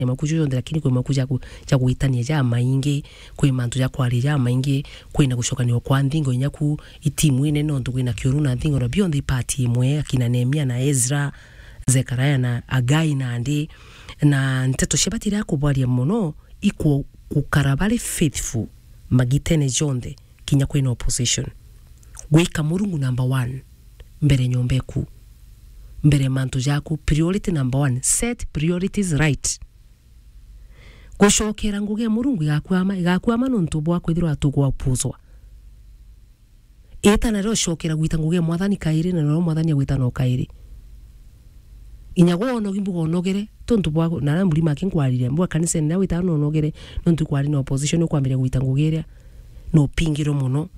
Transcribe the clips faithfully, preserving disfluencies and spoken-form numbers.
mauku juju jonthe, lakini kwi mauku ja ku-, ja gwitania jamaingi, kwi mantu ja kwaria jamaingi, kwina gucokanio kwa nthingo inya ku itimu inene, nontu kwina kiuru na nthingo, na bionthe ipati imwe, akina Nehemia na Ezra, Zekaria na Hagai nandi, na nteto cia batira kubwaria mono, ikwo gukara bari faithful magitene jonthe, kinya kwina opposition. Gwika Murungu number one mbere nyomba eku, mbere mantu jaku, priority number one, set priorities right. Gucokera ngugi ya Murungu igakwama, igakwama nontu bwa kwithirwa tugwapuzwa. Ita nario cokera gwita ngugi ya Mwathani kairi, na nario Mwathani agwita no kairi. Inya gwe onogi mbuga onogere, tontu bwa, na aria mburi make nkwariria, mbuga kanisene na wita no onogere, nontu kwari na opposition, ukwambiria gwita ngugi iria, no upingirwe mono,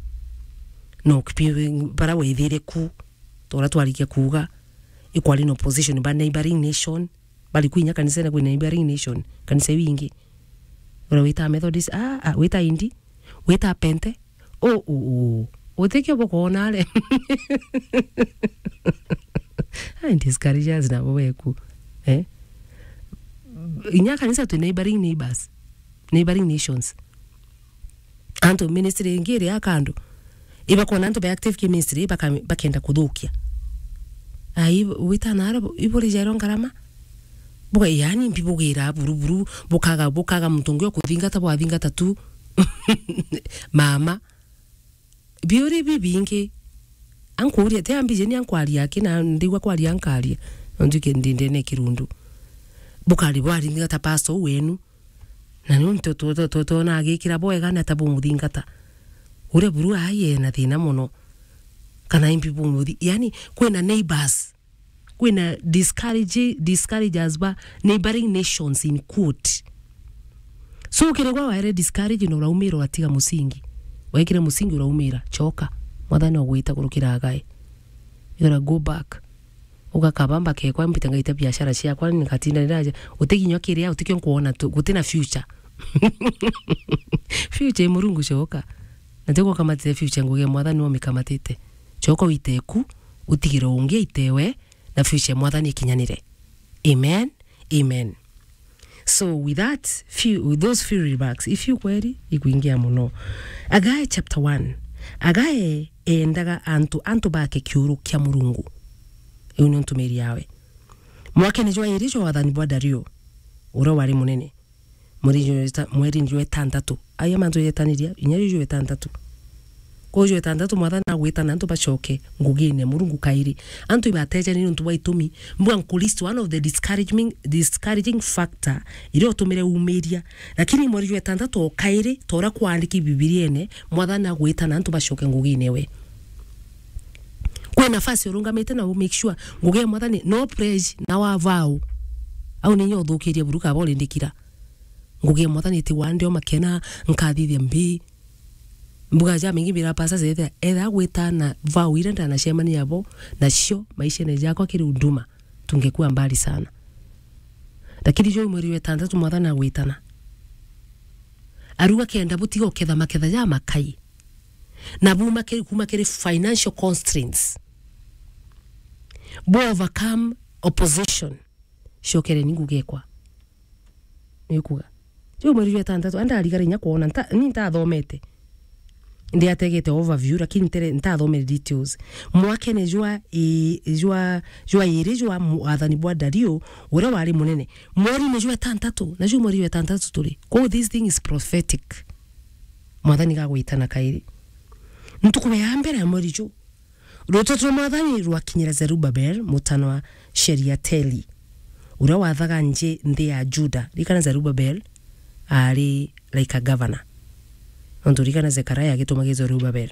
no ukipi-, bara wethire ku, tora twarikia kuuga, ikwari na opposition ba neighboring nation, bari kwinya kanisene kwi neighboring nation, kanisa iu ingi. Ura wita Methodist, ah, ah, wita Indi, wita Pente, o, o, o. Utikio bukoona are. Ai, discouragers nabo beku. Eh? Inya kanisa twi neighboring neighbors, neighboring nations. Antu ministry ingi iri ya kando, ibakona antu be active ki ministry, baka-, bakenda kuthukia. Ai, wita nara, iburi jairo ngarama? Buga, yani, mbibugira buru buru, bukaga, bukaga muntu ungi ukuthingata, bwathingata tu. Mama. Biuri bibingi. Ankuria, ti ambije ni ankwaria aki, na ndigwa kwaria ankaria. Nontu ki ndi ndene kirundu. Bukari bwathingata pastor wenu. Na nontu tu-, tu-, tu-, twona agikira bwega na ta bumuthingata. Uria buru ai ena thina mono. Kana imbi bumuthi-, yani, kwina neighbors. Kwina discourage-, discouragers ba neighboring nations in quote. So, ukiregwa waere discourage na uraumira, uratiga musingi. Wekire musingi uraumira, choka. Mwathani ogwita kurukira Hagai. You gotta go back. Ugakaba mbakekwa mbite ngaita biashara ciakwa, nikatinda niraja. Utiginywa kiria, utikio nkuona tu, gutina future. Future i Murungu, choka. Na tigukamatite future ngugi ya Mwathani umikamatite. Choka uite ku, utigire ungi aite we, na future ya Mwathani ikinyanire. Amen. Amen. So with that few, with those few remarks, if you kweri, ikwingia mono. Hagai chapter one. Hagai endaga antu, antu bake kiuru kia Murungu. Iu ni ntumiri yawe. Mwakene jwa iri jwa wathani bwa Dario, uria wari munene, mweri jwa eta-, mweri jwa etantatu. Aya mantu jetaniria, inya juu jwa etantatu. Kuu jwa etantatu, Mwathani agwita na antu bacoke ngugine Murungu kairi. Antu ibatejani nontu bwa itumi. Mbua nkulist one of the discouraging, discouraging factor iria utumire umiria. Lakini mweri jwa etantatu o kairi, ta uria kwaandiki Bibiriene, Mwathani agwita na antu bacoke ngugine we. Kwi nafasi urungamite na u make sure ngugi ya Mwathani no pledge na wa vow. Au ninya uthukirie buru kaba urindikira. Ngugi ya Mwathani ti wande o makena, nkathithia mbi. Mbuga ja mingi bira pasa zetha, etha gwita na vow iria ndanacemania bo, nacio maishene jakwa kiri huduma, tungekuwa mbali sana. Lakini juu mweri wa etantatu Mwathani agwitana. Aruga kenda butiga uketha maketha ja makai. Na buma kiri, kuma kiri financial constraints. Bu overcome opposition. Cokere ni ngugekwa. Ni kuga. Juu mweri jwa etantatu, andarigara inya kwona, nta-, ni ntathomete. Ndi ategete overview, lakini ntere-, ntathomere details. Mwakene jwa i-, jwa, jwa iri jwa mwathani bwa Dario, uria wari munene. Mweri-ini jwa etantatu, na juu mweri jwa etantatu turi. Kwou this thing is prophetic. Mwathani gagwitana kairi. Ntuku ya mbere ya mweri juu, Ruteto rwa Mwathani rwakinyira Zerubabel, mutano wa Sheriateli, uria wathaga nji nthi ya Juda. Rikana Zerubabel aari like a governor. Nontu rikana Zekaria agitumagira Zerubabel.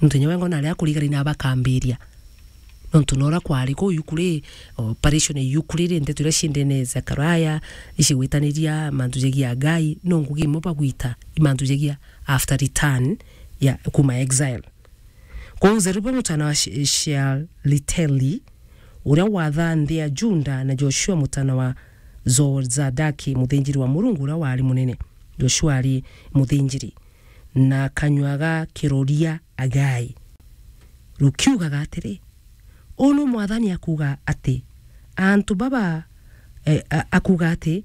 Nontu inya we ngona aria akurigari na bakambiria. Nontu nora kwari kuu Yukuri, operation ya Yukuri ri, ndeto iria ciendene Zekaria, icigwitaniria mantu jegia Ngai, no ngugi imwe bagwita i mantu jegia after return ya kuma exile. Kwou Zerubabeli mutana wa She-, Shealiteli, uria wathaa nthi ya Juda, na Joshua mutana wa Zozadaki, muthinjiri wa Murungu uria wari munene. Joshua ari muthinjiri, na kanyua ga kiroria Agai rukiugaga atiri, uu nu Mwathani akuuga ati, antu baba, eh, a-, akuuga ati,